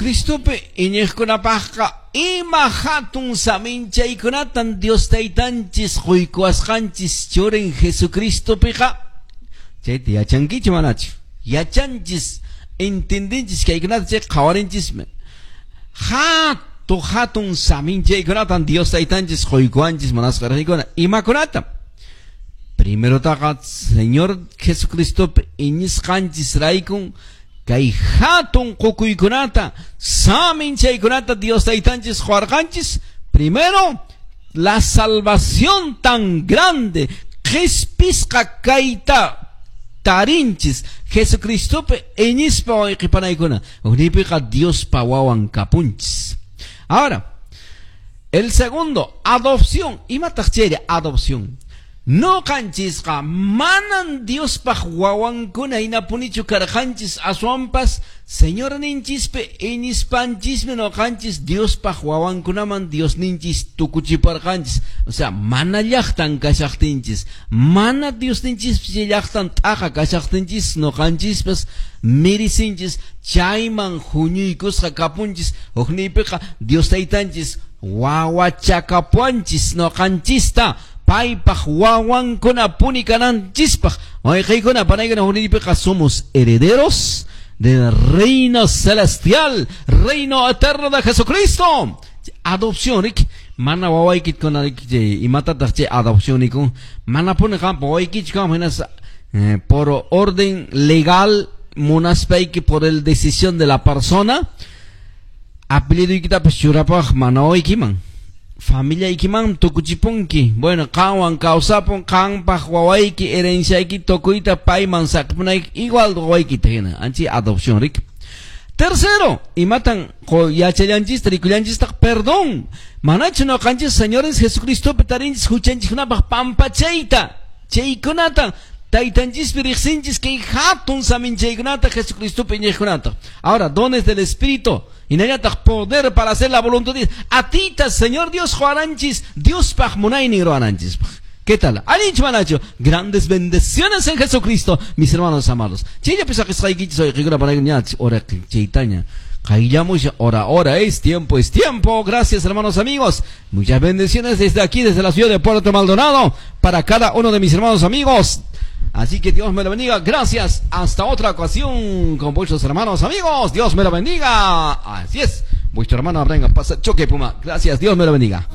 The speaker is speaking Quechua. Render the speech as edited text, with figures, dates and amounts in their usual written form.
Jesucristopi iñiqkunapaqqa ima hatun saminchaykunatan Dios taytanchis quykuwasqanchis churin Jesucristopiqa chayta yachankichu manachu? Yachanchis, entendinchis kaykunata chay qhawarinchismi. Hatu hatun saminchaykunatan Dios taytanchis quykuwanchis munasqa riqikuna. Imakunata? Primerotaqa Señor Jesucristopi iñisqanchis raykun kay hatun qukuykunata saminchaykunata Dios taytanchis quwarqanchis. Primero, la salvación tan grande qhispisqa kayta tarinchis Jesucristopi iñispa wayqipanaykuna. Huknipiqa Diospa wawan kapunchis. Ahora, el segundo, adopción. Imataq chayri adopción? Noqanchisqa manan Diospaq wawankuna hinapunichu karqanchis aswanpas Señorninchispi iñispanchismi noqanchis Diospaq wawankunaman Diosninchis tukuchiparqanchis. O sea, mana llaqtan kashaqtinchis, mana Diosninchispi llaqtan t'aqa kashaqtinchis noqanchispas mirisinchis chayman huñuykusqa kapunchis. Hukniypiqa Dios taytanchis wawachakapuanchis noqanchista paypaq wawankuna puni kananchispaq. Wayqiykuna panaykuna hukniypiqa somos herederos del reino celestial, reino eterno de Jesucristo. Adopción, rik, mana wawaykikuna imatataq chay adopción nikun, mana puni qampa wawaykichu kanman hinas por orden legal munaspayki por el decisión de la persona apellidoykitapas churapaq mana wawaykiman. Familiaykiman tukuchipunki. Bueno, qanwan kawsapun, qanpaq wawayki herenciayki tukuyta payman saqpunayki igual wawaykita hina. Anchi adopción, rik. Tercero, imatan yachallanchista rikullanchistaq perdón. Manachu noqanchis Señores Jesucristopi tarinchis huchanchiskunapaq pampachayta. Chaykunata taytanchispi riqsinchis kay hatun saminchaykunata Jesucristopi iñiqkunata. Ahora, dones del Espíritu. Hinallataq poder para hacer la voluntad de Dios. Atita, Señor Dios quwaranchis, Diospaq munaynin ruwananchispaq. ¿Qué tal? Allinchu manachu. Grandes bendiciones en Jesucristo, mis hermanos amados. Chayllapi saqisqaykichis wayqikuna panaykuna ora chaytaña. Qayllamusha, hora, hora, es tiempo, es tiempo. Gracias, hermanos amigos. Muchas bendiciones desde aquí, desde la ciudad de Puerto Maldonado, para cada uno de mis hermanos amigos. Así que Dios me lo bendiga. Gracias. Hasta otra ocasión con vuestros hermanos amigos. Dios me lo bendiga. Así es. Vuestro hermano Abraham Pasa Choque Puma. Gracias. Dios me lo bendiga.